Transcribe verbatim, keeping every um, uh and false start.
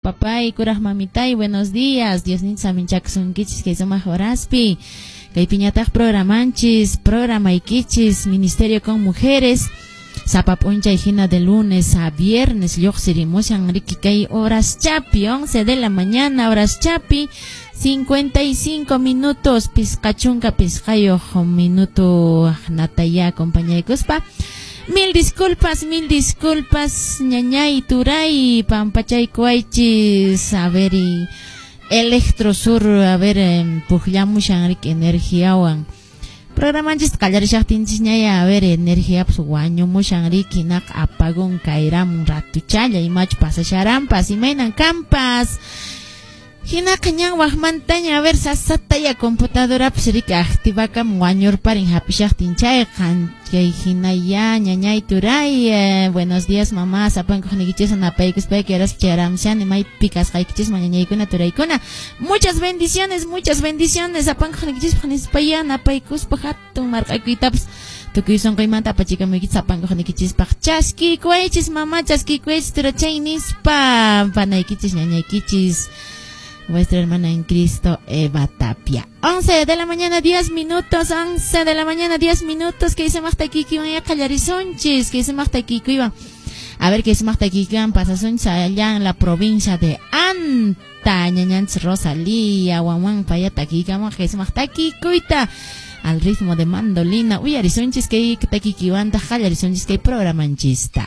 Papay, kuraq mamitay, buenos días. Diosninchis saminchakusunkichis kay sumaq horaspi. Kaypiñataq programanchis, programaykichis, Ministerio con Mujeres. Sapa p'unchay hina de lunes a viernes lluqsirimushan riki kay horas chapi, once de la mañana, horas chapi, cincuenta y cinco minutos, pisqa chunka pisqayuq minuto nataya acompañaykuspa. Mil disculpas, mil disculpas, ñañay, turay, pampachaykuwaychis, a ver, y Electrosur, a ver, pukllamushan riki energiawan. Programanchis qallarishaqtinchis ñaya, a ver, energía pues wañumushan riki, naq apagón kayramun ratuchalla, imachu pasasharanpas, imaynan kampas. Hinaqa ñan waqmantaña, a ver, sasataya computadorapas riki activakamun wañurparin hap'ishaqtin chayqa. Chay hinaya, ñañay, turay, eh, buenos días, mamá, sapankuqniykichis napaykuspayki horaspi chayaramushani maypi kasqaykichisman, ñañaykuna, turaykuna. Muchas bendiciones, muchas bendiciones, sapankuqniykichispaq nispaya napaykuspa hatun marq'akuytapas tukuy sunquymanta apachikamuykichis sapankuqniykichispaq. Chaskiykuwaychis, mamá, chaskiykuwaychis, turachay nispa panaykichis, ñañaykichis. Vuestra hermana en Cristo, Eva Tapia. once de la mañana, diez minutos, once de la mañana, diez minutos, que dice takiykiwan qallarisunchis, que dice takiykiwan. A ver, que dice takiykiwan pasasunchis allá en la provincia de Anta, ñañanchis Rosalía, Wawan, paya takiykaman, que dice takiykuyta al ritmo de mandolina. Uyarisunchis kay takiykiwanta qallarisunchis kay programanchista.